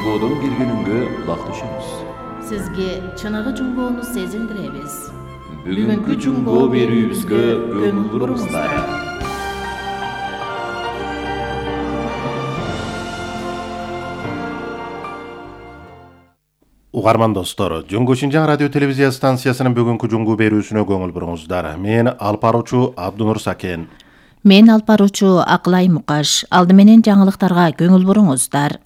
Жунгодон келгениңге улакташабыз. Сизге чыныгы жунгоону сезилдиребиз. Бүгүнкү жунгоо берүүбүзгө көңүл буруңуздар. Угарман достор, Жунгу Шинжаң радио телевизия станциясынын бүгүнкү жунгу берүүсүнө көңүл буруңуздар. Мен алып баруучу Абдунур Сакен. Мен алып баруучу Акылай Мукаш. Алды менен жаңылыктарга көңүл буруңуздар.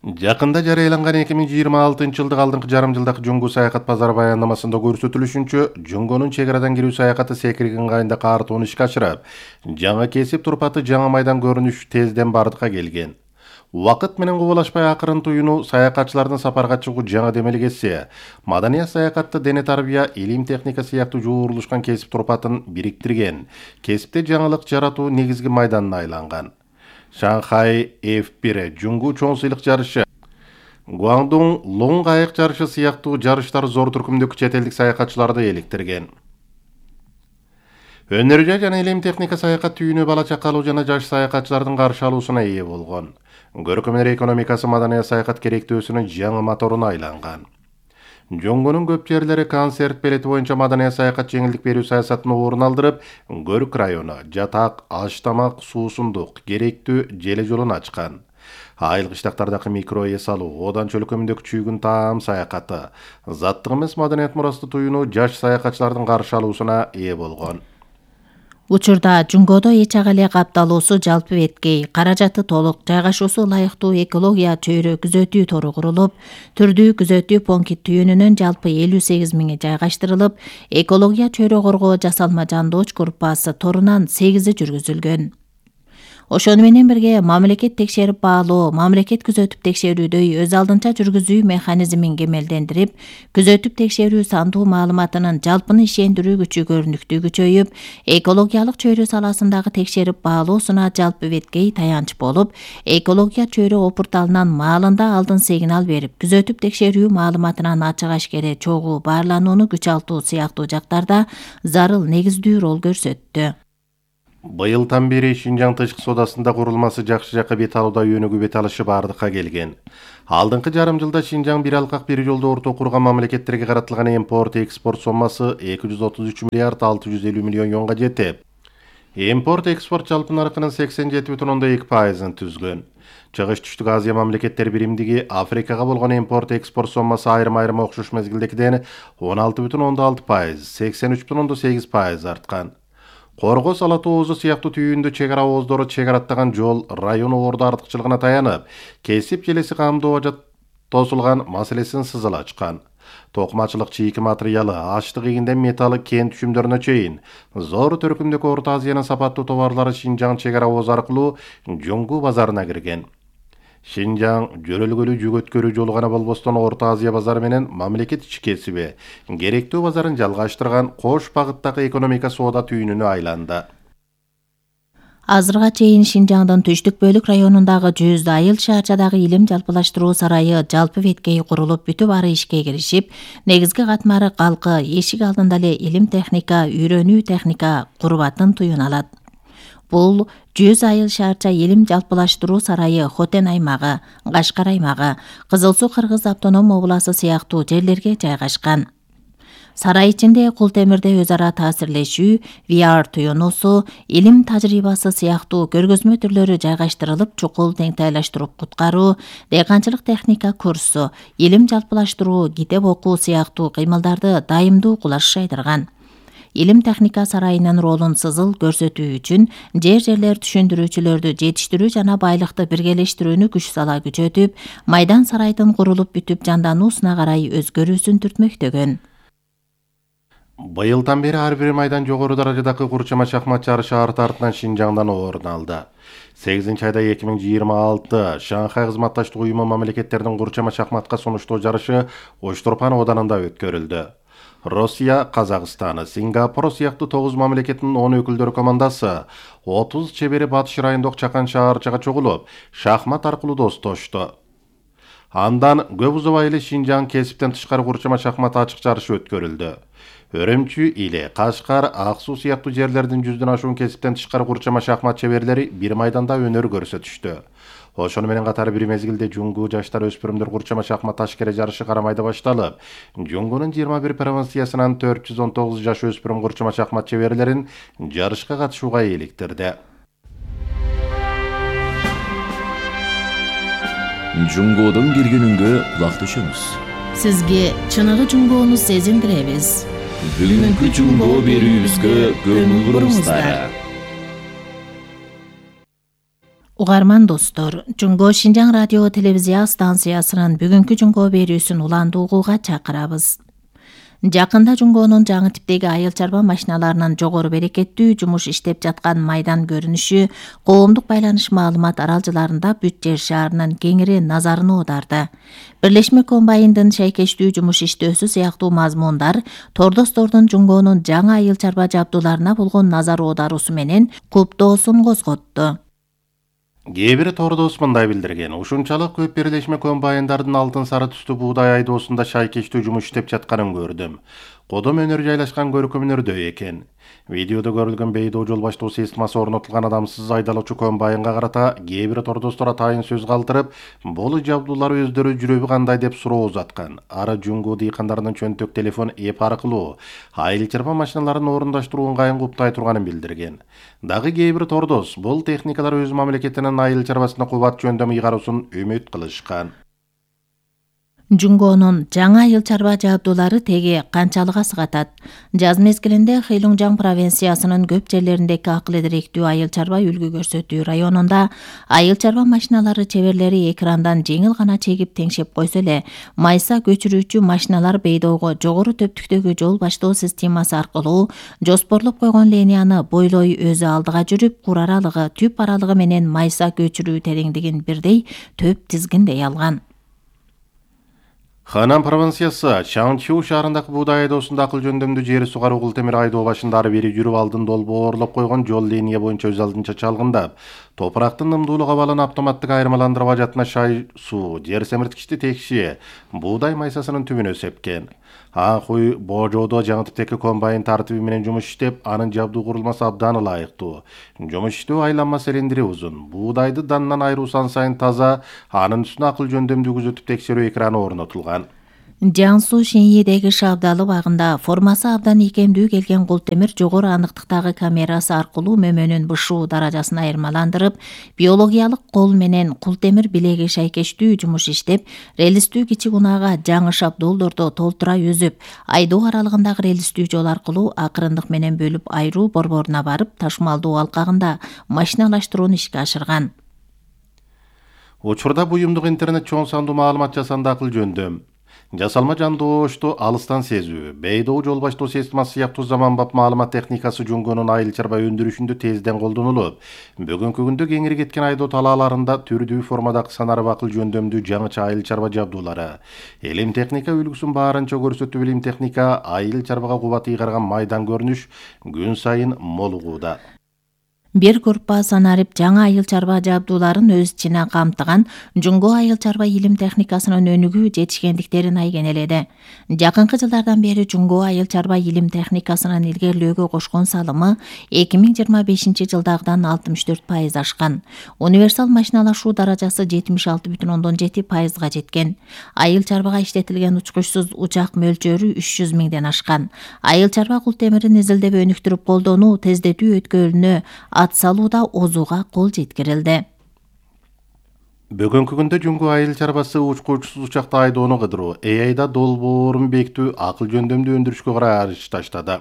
Жакында жарыяланган 2026-жылдык алдыңкы жарым жылдагы жунгу саякат базары баяндамасында көрсөтүлүшүнчө, жунгонун чек арадан кирүү саякаты секирген кайында картууну ишке ашырып, жаңы кесип турпаты жаңы майдан көрүнүш тезден бардыкка келген. Убакыт менен кубалашпай акырын туюну саякатчылардын сапарга чыгуу жаңы демелгеси, маданият саякатты дене тарбия, илим техника сыяктуу жуурулушкан кесип турпатын бириктирген, кесипте жаңылык жаратуу негизги майданына айланган. Шанхай F1 жунгу чоң сыйлык жарышы, Гуандун Лонг айык жарышы сыяктуу жарыштар зор түркүмдөгү чет элдик саякатчыларды эликтирген. Өнөр жана илим техника саякат түйүнү бала чакалуу жана жаш саякатчылардын каршы алуусуна ээ болгон. Көркөмдөр экономикасы маданият саякат керектөөсүнүн жаңы моторуна айланган. Жунгунун көп жерлери концерт билети боюнча маданият саякат жеңилдик берүү саясатын орун алдырып, Көрүк району жатак, аш тамак, суусундук, керектүү желе жолун ачкан. Айыл кыштактардагы микро эс алуу, одан чөлкөмүндөгү чүйгүн таам саякаты, заттык эмес маданият мурасты туюну жаш саякатчылардын каршы алуусуна ээ болгон. Учурда жунгодо эч ага эле капталуусу жалпы беткей, каражаты толук, жайгашуусу ылайыктуу экология чөйрө күзөтүү тору курулуп, түрдүү күзөтүү пункт түйүнүнөн жалпы 58 миңи жайгаштырылып, экология чөйрө коргоо жасалма жандооч группасы торунан 8 жүргүзүлгөн. Ошону менен бирге мамлекет текшерип баалоо, мамлекет күзөтүп текшерүүдөй өз алдынча жүргүзүү механизмин кемелдендирип, күзөтүп текшерүү сандуу маалыматынын жалпыны ишендирүү күчү көрүнүктүү күчөйүп, экологиялык чөйрө саласындагы текшерип баалоосуна жалпы беткей таянч болуп, экология чөйрө порталынан маалында алдын сигнал берип, күзөтүп текшерүү маалыматынан ачык ашкере чогуу баарланууну күч алтуу сыяктуу жактарда зарыл негиздүү рол көрсөттү. Быйылдан бери Шинжаң тышкы соодасында курулмасы жакшы жакка бет алууда өнүгүү бет алышы бардыкка келген. Алдыңкы жарым жылда Шинжаң бир алкак бир жолдо орто курган мамлекеттерге каратылган импорт-экспорт соммасы 233 миллиард 650 миллион юанга жетип, импорт-экспорт жалпы наркынын 87,2%-ын түзгөн. Чыгыш түштүк Азия мамлекеттери биримдиги Африкага болгон импорт-экспорт соммасы айрым окшош мезгилдегиден 16,6%, 83,8% арткан. Корго Сала тоозу сыяктуу түйүндө чек ара ооздору чек араттаган жол район орду артыкчылыгына таянып, кесип желеси камдоого тосулган маселесин сызыл ачкан. Токмачылык чийки материалы, аштык ийинден металлы кен түшүмдөрүнө чейин зор төркүмдөгү Орто Азиянын сапаттуу товарлары Шинжаң чек ара ооз аркылуу Жунгу базарына кирген. Шинжаң жөрөлгөлүү жүк өткөрүү жолу гана болбостон Орто Азия базары менен мамлекет ички кесиби, керектүү базарын жалгаштырган кош багыттагы экономика соода түйүнүнө айланды. Азырга чейин Шинжаңдын түштүк бөлүк районундагы 100 айыл шаарчадагы илим жалпылаштыруу сарайы жалпы беткей курулуп, бүтүп ары ишке киришип, негизги катмары калкы эшик алдында эле илим техника, үйрөнүү техника курбатын туюн алат. Бул 100 айыл шаарча илим жалпылаштыруу сарайы Хотен аймагы, Кашкар аймагы, Кызыл Суу Кыргыз автоном областы сыяктуу жерлерге жайгашкан. Сарай ичинде кул темирде өз ара таасирлешүү, VR туюнуусу, илим тажрыйбасы сыяктуу көргөзмө түрлөрү жайгаштырылып, чукул теңтайлаштырып куткаруу, дыйканчылык техника курсу, илим жалпылаштыруу, китеп окуу сыяктуу кыймылдарды дайымдуу кулаш жайдырган. Илим техника сарайынын ролун сызыл көрсөтүү үчүн жерлер түшүндүрүүчүлөрдү жетиштирүү жана байлыкты биргелештирүүнү күч сала күчөтүп, майдан сарайдын курулуп бүтүп жандануусуна карай өзгөрүүсүн түртмөктөгөн. Быйылдан бери ар бир майдан жогору даражадагы курчама шахмат жарышы арты-артынан Шинжаңдан орун алды. 8-айда 2026 Шанхай кызматташтык уюму мамлекеттердин курчама шахматка сунуштоо жарышы Оштурпан оданында өткөрүлдү. Россия, Казакстан, Сингапур сыяктуу 9 мамлекеттин 10 өкүлдөр командасы 30 чебери Батыш райондук Чакан шаарчага чогулуп, шахмат аркылуу достошту. Андан көп узабай эле Шинжаң кесиптен тышкары курчама шахмат ачык жарышы өткөрүлдү. Өрөмчү, Иле, Кашкар, Ак Суу сыяктуу жерлердин 100дөн ашуун кесиптен тышкары курчама шахмат чеберлери бир майданда өнөр көрсөтүштү. Ошону менен катары бир мезгилде Жунгу жаштар өспүрүмдөр курчама шахмат ташкере жарышы карамайда башталып, Жунгунун 21 провинциясынан 419 жаш өспүрүм курчама шахмат чеберлерин жарышка катышууга eelиктирди. Жунгодон келгениңге кулак түшөңүз. Сизге чыныгы Жунгоону сезиндиребиз. Бүгүнкү Жунго берүүбүзгө көңүл буруңуздар. Угарман достор, Жунго Шинжаң радио телевизия станциясынын бүгүнкү Жунго берүүсүн уланды угууга чакырабыз. Жакында Жунгонун жаңы типтеги айыл чарба машиналарынын жогору берекеттүү жумуш иштеп жаткан майдан көрүнүшү коомдук байланыш маалымат аралжыларында Бүт жер шаарынын кеңири назарын оодарды. Бирлешме комбайндын шайкештүү жумуш иштөөсү сыяктуу мазмундар тордостордун Жунгонун жаңы айыл чарба жабдууларына болгон назар оодаруусу менен куптоосун козготту. Кээ бири тордос мындай билдирген. Ушунчалык көп бирлешме комбайндардын алтын сары түстүү буудай айдоосунда шайкештүү жумуш иштеп жатканын көрдүм. Кодом өнөр жайлашкан көркөмүнөрдө экен. Видеодо көрүлгөн бейдоо жол баштоо системасы орнотулган адамсыз айдалуучу комбайнга карата кээ бир тордостор атайын сөз калтырып, бул жабдуулар өздөрү жүрөбү кандай деп суроо узаткан. Ары Жунгу дыйкандарынын чөнтөк телефон эп аркылуу айыл чарба машиналарын орундаштыруу ыңгайын куптай турганын билдирген. Дагы кээ бир тордос бул техникалар өз мамлекетинин айыл чарбасына кубат жөндөм ыйгаруусун үмүт кылышкан. Жунгонун жаңы айыл чарба жабдуулары теги канчалык асыгатат. Жаз мезгилинде Хейлуңжаң провинциясынын көп жерлериндеги акыл эдиректүү айыл чарба үлгү көрсөтүү районунда айыл чарба машиналары чеберлери экрандан жеңил гана чегип теңшеп койсо эле, майса көчүрүүчү машиналар бейдоого жогору төптүктөгү жол баштоо системасы аркылуу жоспорлоп койгон линияны бойлой өзү алдыга жүрүп, кур аралыгы, түп аралыгы менен майса көчүрүү тереңдигин бирдей төп тизгиндей алган. Ханан провинциясы Чаңчу шаарындагы буудай айдоосунда акыл жөндөмдүү жери сугаруу кул темир айдоо башында ары бери жүрүп алдын долбоорлоп койгон жол линия боюнча өз алдынча чалгындап, топурактын нымдуулук абалын автоматтык айырмаландырып ажатына шай суу, жер семирткичти текши, буудай майсасынын түбүнө сепкен. Анхуй Божодо жаңы типтеги комбайн тартиби менен жумуш иштеп, анын жабдуу курулмасы абдан ылайыктуу. Жумуш иштөө айланма цилиндри узун. Буудайды данынан айыруу сан сайын таза, анын үстүнө акыл жөндөмдүү күзөтүп текшерүү экраны орнотулган. Жаңсу Шиньидеги шабдалы багында формасы абдан ийкемдүү келген кул темир жогору аныктыктагы камерасы аркылуу мөмөнүн бышуу даражасын айырмаландырып, биологиялык кол менен кул темир билеги шайкештүү жумуш иштеп, релистүү кичи унаага жаңы шабдуулдорду толтура үзүп, айдоо аралыгындагы релистүү жол аркылуу акырындык менен бөлүп айыруу борборуна барып, ташмалдоо алкагында машиналаштырууну ишке ашырган. Учурда буюмдук интернет чоң сандуу маалымат жасанды акыл жөндөм. Жасалма жандоошту алыстан сезүү, бейдоо жол баштоо системасы сыяктуу заманбап маалымат техникасы Жунгонун айыл чарба өндүрүшүндө тезден колдонулуп, бүгүнкү күндө кеңири кеткен айдоо талааларында түрдүү формадагы санарып акыл жөндөмдүү жаңыча айыл чарба жабдуулары, илим техника үлгүсүн баарынча көрсөтүү илим техника айыл чарбага кубат ыйгарган майдан көрүнүш күн сайын молугууда. Бир группа санарип жаңы айыл чарба жабдууларын өз ичине камтыган Жунго айыл чарба илим техникасынын өнүгүү жетишкендиктерин айгенеледи. Жакынкы жылдардан бери Жунго айыл чарба илим техникасынын илгерилөөгө кошкон салымы 2025 жылдагыдан 64% ашкан. Универсал машиналашуу даражасы 76,7%га жеткен. Айыл чарбага иштетилген учкучсуз учак мөлчөрү 300 миңден ашкан. Айыл чарба кул темирин изилдеп өнүктүрүп колдонуу, тездетүү өткөлүнө ат салууда озууга кол жеткирилди. Бүгүнкү күндө Жунгу айыл чарбасы учкучсуз учакта айдоону кыдыруу, AI-да долбоорун бекитүү, акыл жөндөмдүү өндүрүшкө караш таштады.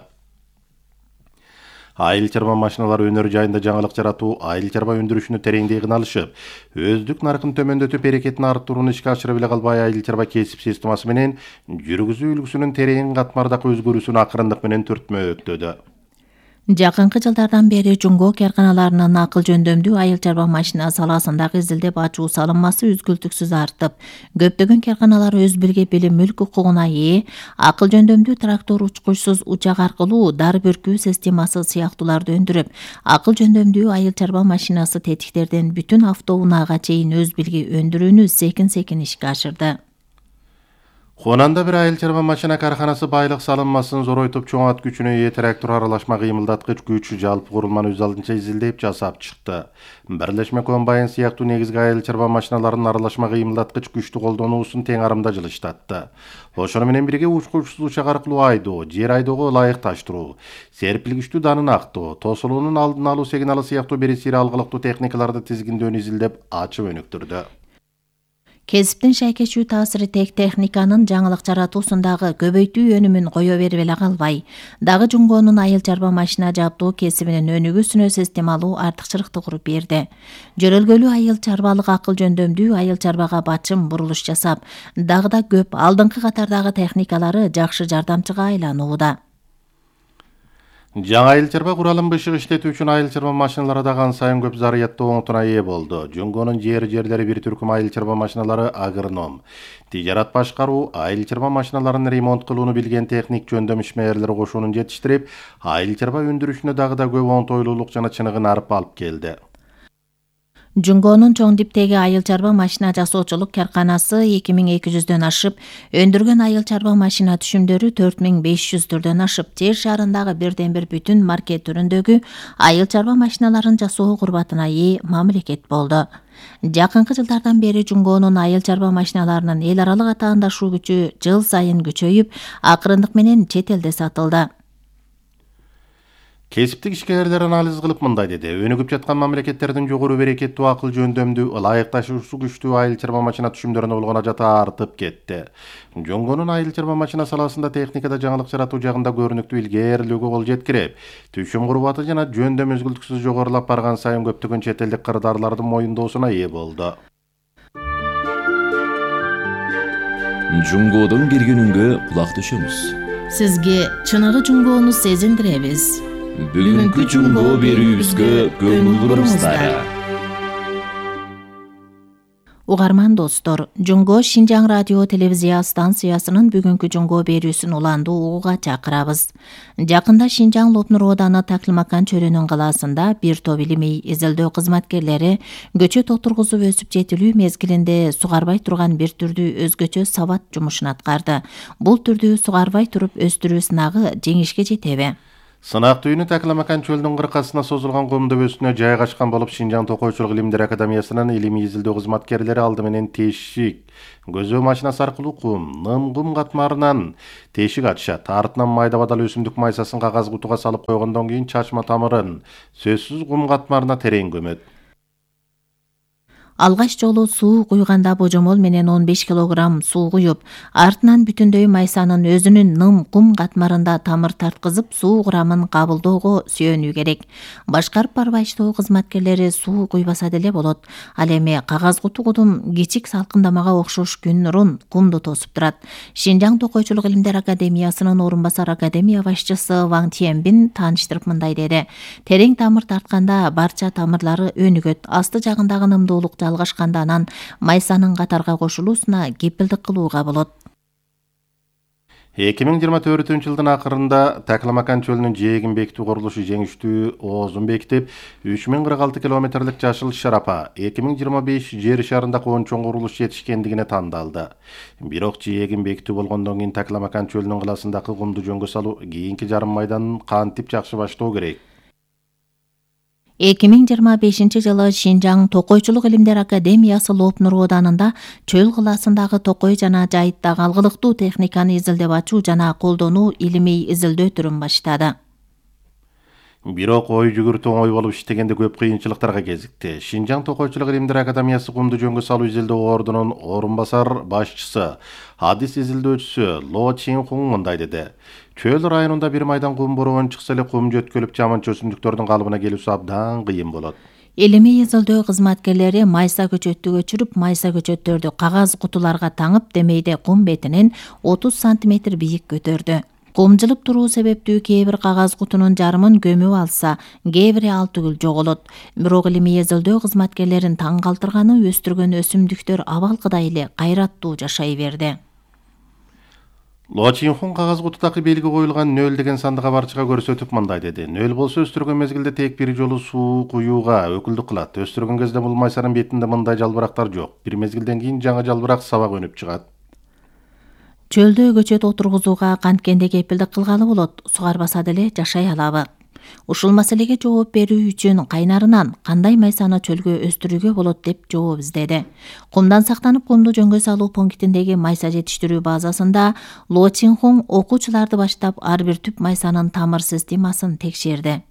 Айыл чарба машиналары өнөр жайында жаңылык жаратуу, айыл чарба өндүрүшүнү тереңдей алышып, өздүк наркын төмөндөтүп, берекетин арттырууну ишке ашырып эле калбай, айыл чарба кесип системасы менен жүргүзүү үлгүсүнүн терең катмардагы өзгөрүүсүн акырындык менен түртмөктөдү. Жакынкы жылдардан бери Жунго карканаларынын акыл жөндөмдүү айыл чарба машина саласындагы изилдеп ачуу салынмасы үзгүлтүксүз артып, көптөгөн карканалар өз бирге билим мүлк укугуна ээ, акыл жөндөмдүү трактор, учкучсуз учак аркылуу дар бүркүү системасы сыяктууларды өндүрүп, акыл жөндөмдүү айыл чарба машинасы тетиктерден бүтүн автоунаага чейин өз билги өндүрүүнү секин ишке ашырды. Хонанда бир айыл чарба машина карханасы байлык салынмасын зоройтуп чоң ат күчүнө ээ трактор аралашма кыймылдаткыч күч жалпы курулманы өз алдынча изилдеп жасап чыкты. Бирлешме комбайн сыяктуу негизги айыл чарба машиналарынын аралашма кыймылдаткыч күчтү колдонуусун тең арымда жылыштатты. Ошону менен бирге учкучсуз учак аркылуу айдоо, жер айдоого ылайыкташтыруу, серпилгичтүү данын актоо, тосулуунун алдын алуу сигналы сыяктуу берисири алгылыктуу техникаларды тизгиндөөнү изилдеп ачып өнүктүрдү. Кесиптин шайкечүү таасири тек техниканын жаңылык жаратуусундагы көбөйтүү өнүмүн кое берип эле калбай, дагы Жунгонун айыл чарба машина жаптоо кесибинин өнүгүүсүнө системалуу артыкчылыкты куруп берди. Жөрөлгөлүү айыл чарбалык акыл жөндөмдүү айыл чарбага бачым бурулуш жасап, дагы да көп алдыңкы катардагы техникалары жакшы жардамчыга айланууда. Жаңы айыл чарба куралын бышык иштетүү үчүн айыл чарба машиналары да ан сайын көп зарыяттуу оңотуна ээ болду. Жунгонун жерлери бир түркүм айыл чарба машиналары агроном, тижарат башкаруу, айыл чарба машиналарын ремонт кылууну билген техник жөндөм ишмерлери кошунун жетиштирип, айыл чарба өндүрүшүнө дагы да көп оңтойлуулук жана чыныгын алып келди. Жунгонун чоң диптеги айыл чарба машина жасоочулук карканасы 2200дөн ашып, өндүргөн айыл чарба машина түшүмдөрү 4500 түрдөн ашып, жер шарындагы бирден бир бүтүн маркет түрүндөгү айыл чарба машиналарын жасоо курбатына ээ мамлекет болду. Жакынкы жылдардан бери Жунгонун айыл чарба машиналарынын эл аралык атаандашуу күчү жыл сайын күчөйүп, акырындык менен чет элде сатылды. Кесиптик ишкерлер анализ кылып мындай деди: өнүгүп жаткан мамлекеттердин жогору берекеттүү акыл жөндөмдүү, ылайыкташуусу күчтүү айыл чарба машина түшүмдөрүнө болгон ажаты артып кетти. Жунгонун айыл чарба машина саласында техникада жаңылык жаратуу жагында көрүнүктүү илгээрилүүгө кол жеткирип, түшүм курбаты жана жөндөм үзгүлтүксүз жогорулап барган сайын көптөгөн чет элдик кырдаарлардын моюндоосуна ээ болду. Жунгодон киргенүнгө кулак түшөмүз. Сизге чыныгы Жунгону сезиндиребиз. Бүгүнкү Жунго берүүбүзгө көңүл буруңуздар. Угарман достор, Жунго Шинжаң радио телевизия станциясынын бүгүнкү Жунго берүүсүн уландуу угууга чакырабыз. Жакында Шинжаң Лопнур ооданы Таклимакан чөлүнүн калаасында бир топ илимий изилдөө кызматкерлери көчөт отургузуп өсүп жетилүү мезгилинде сугарбай турган бир түрдүү өзгөчө сабат жумушун аткарды. Бул түрдүү сугарбай туруп өстүрүү сынагы жеңишке жетеби? Сынак түйүнү Таклимакан чөлүнүн кыркасына созулган кум дөбөсүнө жайгашкан болуп, Шинжаң Токойчулук илимдер академиясынын илимий изилдөө кызматкерлери алды менен тешик көзөө машинасы аркылуу кум катмарынан тешик ачышат. Артынан майда бадал өсүмдүк майсасын кагаз кутуга салып койгондон кийин чачма тамырын сөзсүз кум катмарына терең көмөт. Алгаш жолу суу куйганда божомол менен 15 килограмм суу куюп, артынан бүтүндөй майсанын өзүнүн ным кум катмарында тамыр тарткызып, суу курамын кабылдоого сүйөнүү керек. Башкарып барбайчылоо кызматкерлери суу куйбаса деле болот. Ал эми кагаз куту кудум кичик салкындамага окшош күн нурун кумду тосуп турат. Шинжаң Токойчулук илимдер академиясынын орун басар академия башчысы Ваң Тиенбин тааныштырып мындай деди: терең тамыр тартканда барча тамырлары өнүгөт, асты жагындагы нымдуулук жалгашканда анан майсанын катарга кошулуусуна кепилдик кылууга болот. 2024-жылдын акырында Таклимакан чөлүнүн жээгин бекитүү курулушу жеңиштүү оозун бекитип, 3046 километрлик жашыл шарапа 2025 жер шарында чоң курулуш жетишкендигине тандалды. Бирок жээгин бекитүү болгондон кийин Таклимакан чөлүнүн кылаасындагы кумду жөнгө салуу кийинки жарым майданын кантип жакшы баштоо керек? 2025 жылы Шинжаң Токойчулук илимдер академиясы Лопнур ооданында чөл кылаасындагы токой жана жайыттагы алгылыктуу техниканы изилдеп ачуу жана колдонуу илимий изилдөө түрүн баштады. Бирок ой жүгүртүү оңой болуп иштегенде көп кыйынчылыктарга кезикти. Шинжаң Токойчулук илимдер академиясы кумду жөнгө салуу изилдөө ордунун орун басар башчысы, адис изилдөөчүсү Ло Чинхун мындай деди: чөл районунда бир майдан кум бороон чыкса эле кум жөткөлүп жаманчы өсүмдүктөрдүн калыбына келүүсү абдан кыйын болот. Илимий изилдөө кызматкерлери майса көчөттү көчүрүп, майса көчөттөрдү кагаз кутуларга таңып, демейде кум бетинен 30 сантиметр бийик көтөрдү. Кум жылып туруу себептүү кээ бир кагаз кутунун жарымын көмүп алса, кээ бири ал түгүл жоголот. Бирок илимий изилдөө кызматкерлерин таң калтырганы өстүргөн өсүмдүктөр абалкыдай эле кайраттуу жашай берди. Ло Чинхун кагаз кутудагы белги коюлган 0 деген сандыга барчыга көрсөтүп мындай деди: 0 болсо өстүргөн мезгилде тек бир жолу суу куюуга өкүлдүк кылат. Өстүргөн кезде бул майсанын бетинде мындай жалбырактар жок. Бир мезгилден кийин жаңы жалбырак сабак өнүп чыгат. Чөлдө көчөт отургузууга канткенде кепилдик кылгалы болот, сугарбаса деле жашай алабы? Ушул маселеге жооп берүү үчүн кайнарынан кандай майсаны чөлгө өстүрүүгө болот деп жооп издеди. Кумдан сактанып кумду жөнгө салуу пунктиндеги майса жетиштирүү базасында Ло Чин-хун окуучуларды баштап ар бир түп майсанын тамыр системасын текшерди.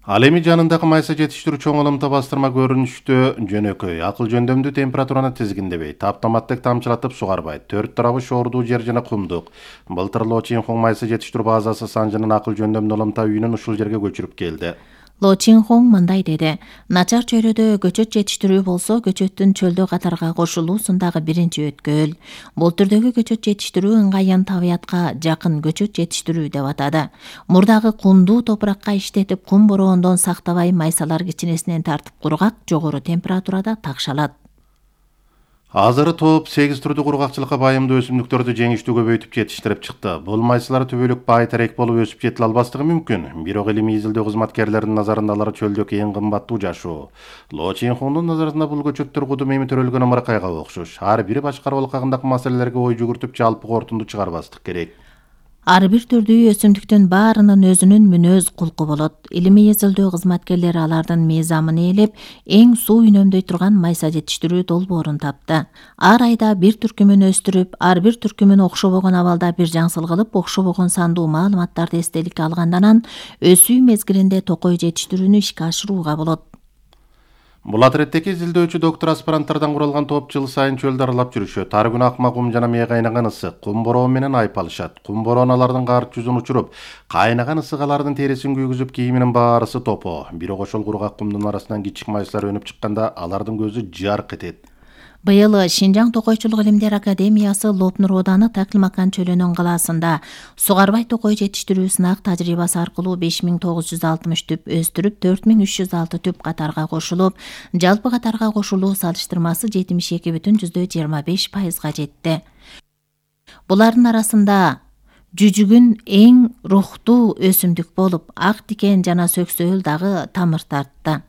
Ал эми жанындагы майса жетиштирүү чоң ылымта бастырма көрүнүштө жөнөкөй, акыл жөндөмдүү температураны тизгиндебейт, автоматтык тамчылатып сугарбайт, төрт тарабы шоордуу жер жана кумдук. Былтыр Ло Чин-хун майса жетиштирүү базасы Санжынын акыл жөндөмдүү ылымта үйүнөн ушул жерге көчүрүп келди. Ло Чин-хун мындай деди: начар чөйрөдө көчөт жетиштирүү болсо, көчөттүн чөлдө катарга кошулуусундагы биринчи өткөл. Бул түрдөгү көчөт жетиштирүү ыңгайын табиятка жакын көчөт жетиштирүү деп атады. Мурдагы кумдуу топуракка иштетип, кум бороондон сактабай майсалар кичинесинен тартып кургак, жогору температурада такшалат. Азыры топ 8 түрдүү кургакчылыкка байымдуу өсүмдүктөрдү жеңиштүү көбөйтүп жетиштирип чыкты. Бул майсалар түбөлүк бай терек болуп өсүп жетиле албастыгы мүмкүн. Бирок илимий изилдөө кызматкерлеринин назарында алар чөлдөгү эң кымбаттуу жашоо. Ло Чин-хундун назарында бул көчөттөр кудум эми төрөлгөн ымыркайга окшош. Ар бири башкаруу алкагындагы маселелерге ой жүгүртүп, жалпы корутунду чыгарбастык керек. Ар бир түрдүү өсүмдүктүн баарынын өзүнүн мүнөз кулку болот. Илимий изилдөө кызматкерлери алардын мыйзамын ээлеп, эң суу үнөмдөй турган майса жетиштирүү долбоорун тапты. Ар айда бир түркүмүн өстүрүп, ар бир түркүмүн окшобогон абалда бир жаңсыл кылып, окшобогон сандуу маалыматтарды эстеликке алгандан анан өсүү мезгилинде токой жетиштирүүнү ишке ашырууга болот. Бул отряддеги изилдөөчү доктор аспиранттардан куралган топ жыл сайын чөлдү аралап жүрүшөт. Ар күнү акма кум жана мээ кайнаган ысык, кум бороо менен айпалышат. Кум бороон алардын карт жүзүн учуруп, кайнаган ысык алардын терисин күйгүзүп, кийиминин баарысы топо. Бирок ошол кургак кумдун арасынан кичик майсалар өнүп чыкканда алардын көзү жарк этет. Быйыл Шинжаң Токойчулук илимдер академиясы Лопнур ооданы Таклимакан чөлүнүн калаасында сугарбай токой жетиштирүү сынак тажрыйбасы аркылуу 5960 түп өстүрүп, 4306 түп катарга кошулуп, жалпы катарга кошулуу салыштырмасы 72,25%га жетти. Булардын арасында жүжүгүн эң рухтуу өсүмдүк болуп, ак тикен жана сөксөөл дагы тамыр тартты.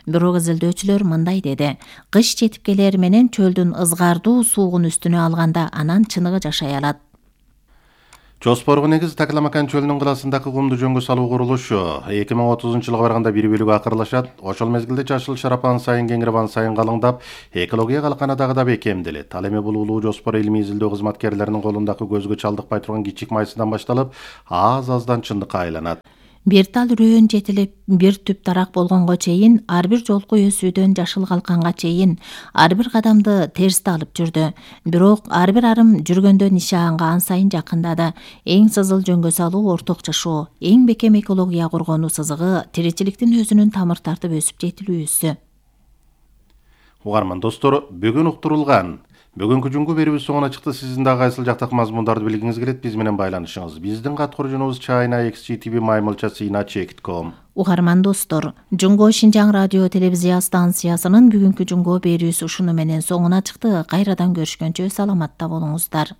Бирок изилдөөчүлөр мындай деди: кыш жетип келер менен чөлдүн ызгардуу суугун үстүнө алганда анан чыныгы жашай алат. Жоспорго негиз Таклимакан чөлүнүн кылаасындагы кумду жөнгө салуу курулушу 2030-жылга барганда бир бөлүгү акырлашат. Ошол мезгилде жашыл шарапан сайын кеңирбан сайын калыңдап, экология калканы дагы да бекемделет. Ал эми бул улуу жоспор илимий изилдөө кызматкерлеринин колундагы көзгө чалдыкпай турган кичик майсадан башталып, аз-аздан чындыкка айланат. Бир тал үрөөн жетилип, бир түп тарак болгонго чейин, ар бир жолку өсүүдөн жашыл калканга чейин ар бир кадамды терсте алып жүрдү. Бирок ар бир арым жүргөндө нишаанга ан сайын жакындады. Эң сызыл жөнгө салуу орток жашоо, эң бекем экология коргонуу сызыгы тиричиликтин өзүнүн тамыр тартып өсүп жетилүүсү. Угарман достор, бүгүн уктурулган бүгүнкү жүнгө берүүбүз соңуна чыкты. Сиздин дагы кайсыл жактагы мазмундарды билгиңиз келет, биз менен байланышыңыз. Биздин каткаруучубуз china@xgtv-china.com. Угарман достор, Жунго Шинжаң радио телевизия станциясынын бүгүнкү жүнгө берүүсү ушуну менен соңуна чыкты. Кайрадан көрүшкөнчө саламатта болуңуздар.